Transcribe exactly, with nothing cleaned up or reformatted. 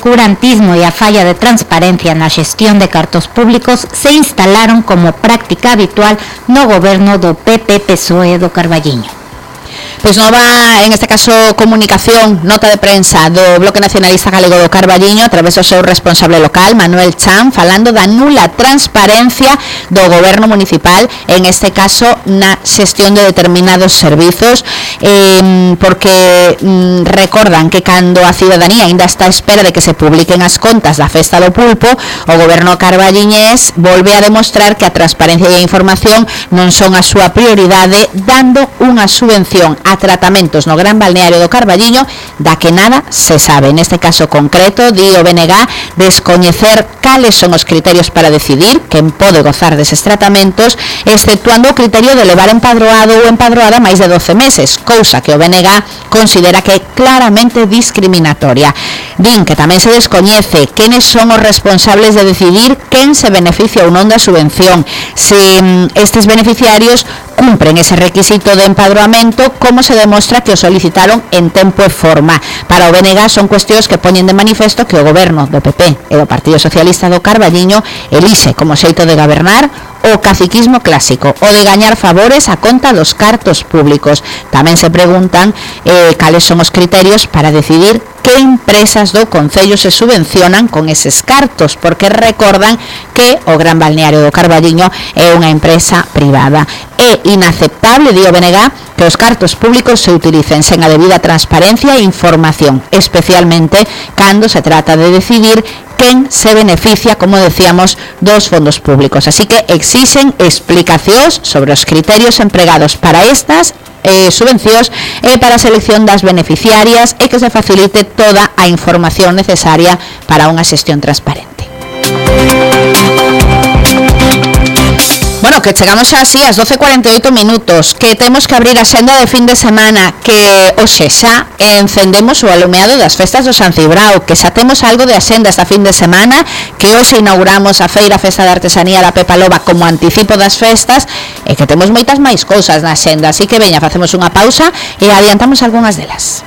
oscurantismo e a falla de transparencia na xestión de cartos públicos se instalaron como práctica habitual no goberno do P P P S O E do Carballiño. Pois nova, en este caso, comunicación, nota de prensa do Bloque Nacionalista Galego do Carballiño a través do seu responsable local, Manuel Chan, falando da nula transparencia do goberno municipal, en este caso na xestión de determinados servizos, eh, porque mm, recordan que cando a ciudadanía ainda está a espera de que se publiquen as contas da Festa do Pulpo, o goberno carballiñés volve a demostrar que a transparencia e a información non son a súa prioridade, dando unha subvención a tratamentos no Gran Balneario do Carballiño da que nada se sabe. Neste caso concreto, di o B N G, descoñecer cales son os criterios para decidir quen pode gozar deses tratamentos, exceptuando o criterio de levar empadroado ou empadroada máis de doce meses, cousa que o B N G considera que é claramente discriminatoria. Din que tamén se descoñece quenes son os responsables de decidir quen se beneficia ou non da subvención, se estes beneficiarios cumpren ese requisito de empadroamento, como se demostra que o solicitaron en tempo e forma. Para o B N G son cuestións que poñen de manifesto que o goberno do P P e do Partido Socialista do Carballiño elixe como xeito de gobernar o caciquismo clásico, o de gañar favores a conta dos cartos públicos. Tamén se preguntan eh, cales son os criterios para decidir que empresas do Concello se subvencionan con eses cartos, porque recordan que o Gran Balneario do Carballiño é unha empresa privada. É inaceptable, di o B N G, que os cartos públicos se utilicen sen a debida transparencia e información, especialmente cando se trata de decidir quen se beneficia, como decíamos, dos fondos públicos. Así que exixen explicacións sobre os criterios empregados para estas eh, subvencións e para a selección das beneficiarias e que se facilite toda a información necesaria para unha xestión transparente. Bueno, que chegamos xa así ás doce e cuarenta e oito minutos, que temos que abrir a xenda de fin de semana, que hoxe xa encendemos o alumeado das festas do San Cibrao, que xa temos algo de axenda esta fin de semana, que hoxe inauguramos a Feira Festa de Artesanía da Pepa Loba como anticipo das festas, e que temos moitas máis cousas na xenda, así que veña, facemos unha pausa e adiantamos algunhas delas.